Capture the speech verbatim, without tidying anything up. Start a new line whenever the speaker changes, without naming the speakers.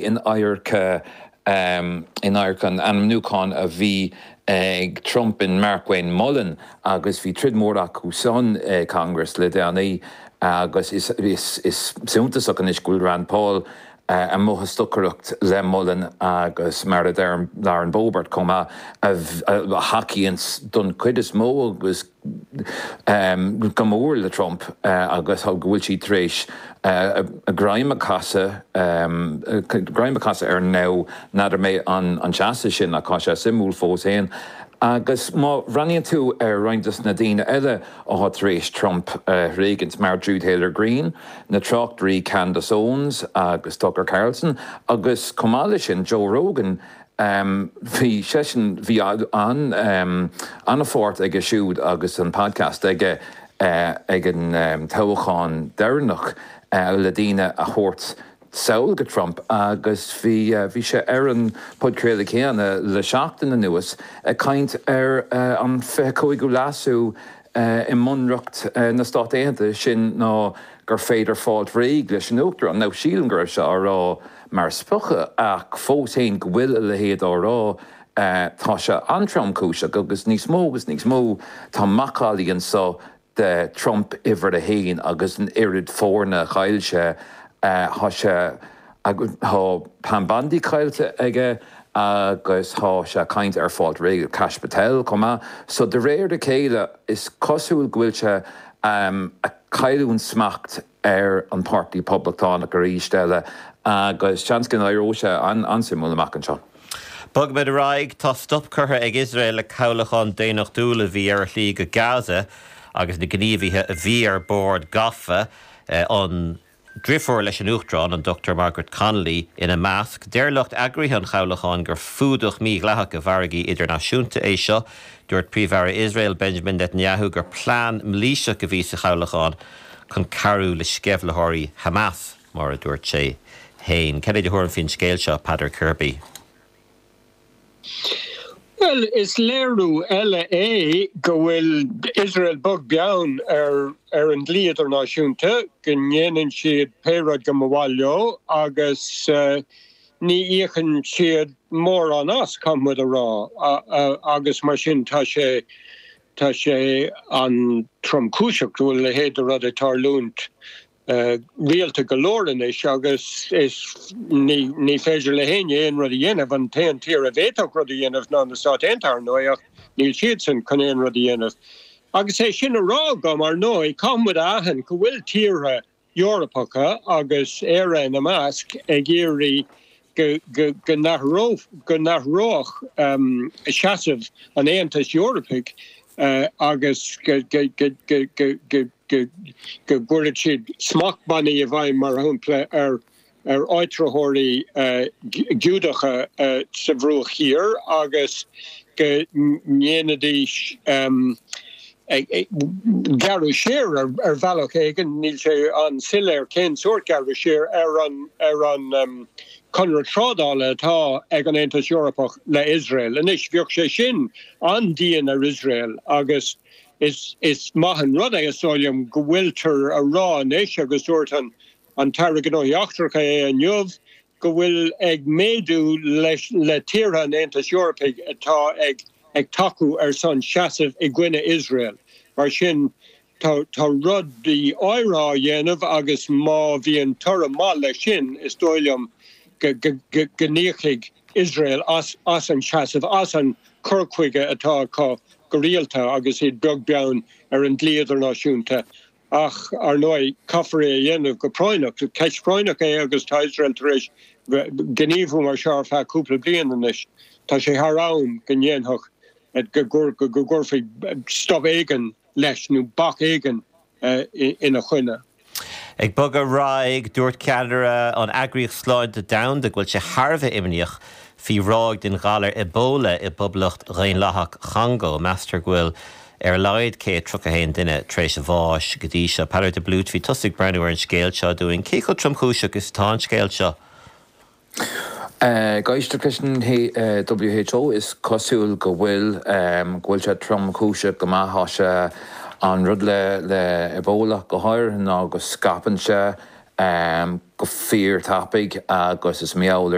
In adharca in adharca an ainmniúcháin a bhí ag Trump in Markwayne Mullin agus bhí troid mór acu san Congress le déanaí agus is is is suntasach anois go bhfuil Rand Paul amuigh ag stocaireacht le Mullin agus mar a deir Lauren Boebert chomh maith a thacaíonn don chuid is mó agus go mór le Trump agus go bhfuil sí tar éis a greim a chasadh greim a chasadh air now. N'fheadar mé an an seasamh sin ach tá sé suimiúil fós féin. Agus má bhreathnaíonn tú ar roinnt de na daoine eile atá tar éis Trump a thréigint mar Marjorie Taylor Greene, na tráchtairí Candace Owens agus Tucker Carlson agus chomh maith leis sin Joe Rogan, bhí seisean bhí an an-pháirt aige siúd agus an podcast aige ag an toghchán deireanach le daoine a thabhairt sall go Trump agus bhí bhí sé ar an podchraoladh céanna le seachtain anuas ag caint ar an fiche cúigiú leasú i mBunreacht na Stát Aontaithe sin ná gur féidir fáil réidh leis an uachtarán. Now sílim go raibh sé á rá mar spochadh ach fós féin go bhfuil a leithéid á rá tá sé an-tromchúiseach agus níos mó agus níos mó tá macallaí anseo de Trump uimhir a haon agus an oiread foirne a chaill sé tá sé tá Pam Bondi caillte aige agus tá sé ag caint ar fáil réidh le Kash Patel chomh maith. So de réir a chéile is cosúil go bhfuil sé ag cailliúint smacht ar an Páirtí Poblachtánach arís eile agus seans go n-éireoidh sé an-suimiúil amach anseo.
Bogfaimid ar aghaidh, tá stop curtha ag Iosrael le cabhlachán daonnachtúil a bhí ar a shlí go Gaza agus na gníomhaithe a bhí ar bord gafa, an driofúr leis an Uachtarán, an Dochtúir Margaret Connolly, ina measc. Deir lucht eagraithe an chabhlacháin gur fuadach mídhleathach i bhfarraigí idirnáisiúnta é seo. Dúirt Príomh-Aire Iosrael, Benjamin Netanyahu, gur plean mailíseach a bhí sa chabhlachán chun cabhrú le sceimhlitheoirí Hamas, mar a dúirt sé féin. Cad é do thuairim faoin scéal seo, Peadar Kirby?
Bhuel, is léiriú eile é go bhfuil Iosrael beag beann ar ar an dlí idirnáisiúnta, go ndéanann siad pé rud go mba mhaith leo agus ní íocann siad mórán as, caithfidh muid a rá, agus mar sin tá sé tá sé an-tromchúiseach go bhfuil a leithéid de rud ag tarlúint. rialta go leor anois agus is ní ní féidir le héinne aon rud a dhéanamh. An t-aon tír a bhféadfadh rud a dhéanamh ná na Stáit Aontaithe, ar ndóigh, ach níl siadsan chun aon rud a dhéanamh. Agus é sin á rá agam, ar ndóigh, caithfidh muid a aithint go bhfuil tíortha Eorpacha, agus Éire ina measc, ag iarraidh go go go n-athródh seasamh an Aontais Eorpaigh agus go go go go go go gcuirfeadh siad smachtbhannaí i bhfeidhm, mar shampla, ar ar áitritheoirí Giúdacha sa Bhruach Thiar agus go ndéanfaidís gearradh siar ar bhealach éigin, níl sé an-soiléir cén sórt gearradh siar, ar an ar an conradh trádála atá ag an Aontas Eorpach le Iosrael. Anois, bheadh sé sin an-dian ar Iosrael agus Is is maith an rud é, is dóigh liom, go bhfuiltear a rá anois, agus dúirt an an tAire Gnóthaí Eachtracha é inniu, go bhfuil ag méadú leis le tíortha an Aontais Eorpaigh atá ag ag tacú ar son seasamh i gcoinne Iosrael. Mar sin, tá tá rudaí áirithe á dhéanamh agus má bhíonn toradh maith leis sin, is dóigh liom go go go n-íocfaidh Iosrael as as an seasamh, as an cur chuige atá acu go rialta agus iad beag beann ar an dlí idirnáisiúnta. Ach, ar ndóigh, caithfear é a dhéanamh go práinneach. Ceist phráinneach é agus tá Iosrael tar éis gníomhú mar seo ar feadh cúpla bliain anois. Tá sé thar am go ndéanfadh, go gcuirfí stop éigin leis nó bac éigin ina choinne.
Ag bogadh ar aghaidh, dúirt ceannaire an Eagraíocht Sláinte Domhanda go bhfuil sé thar a bheith imníoch faoi ráig den ghalar Ebola i bPoblacht Dhaonlathach Chongó. Meastar go bhfuil ar a laghad céad tríocha a haon duine tar éis a bháis go dtí seo. Peadar de Blúit, bhí tusa ag breathnú ar an scéal seo dúinn. Cé chomh tromchúiseach is atá an scéal seo?
Ag éisteacht leis an W H O is cosúil go bhfuil go bhfuil sé tromchúiseach go maith. Tá sé an rud le le Ebola go háirithe ná go scaipeann sé um, go fíorthapaidh agus is meall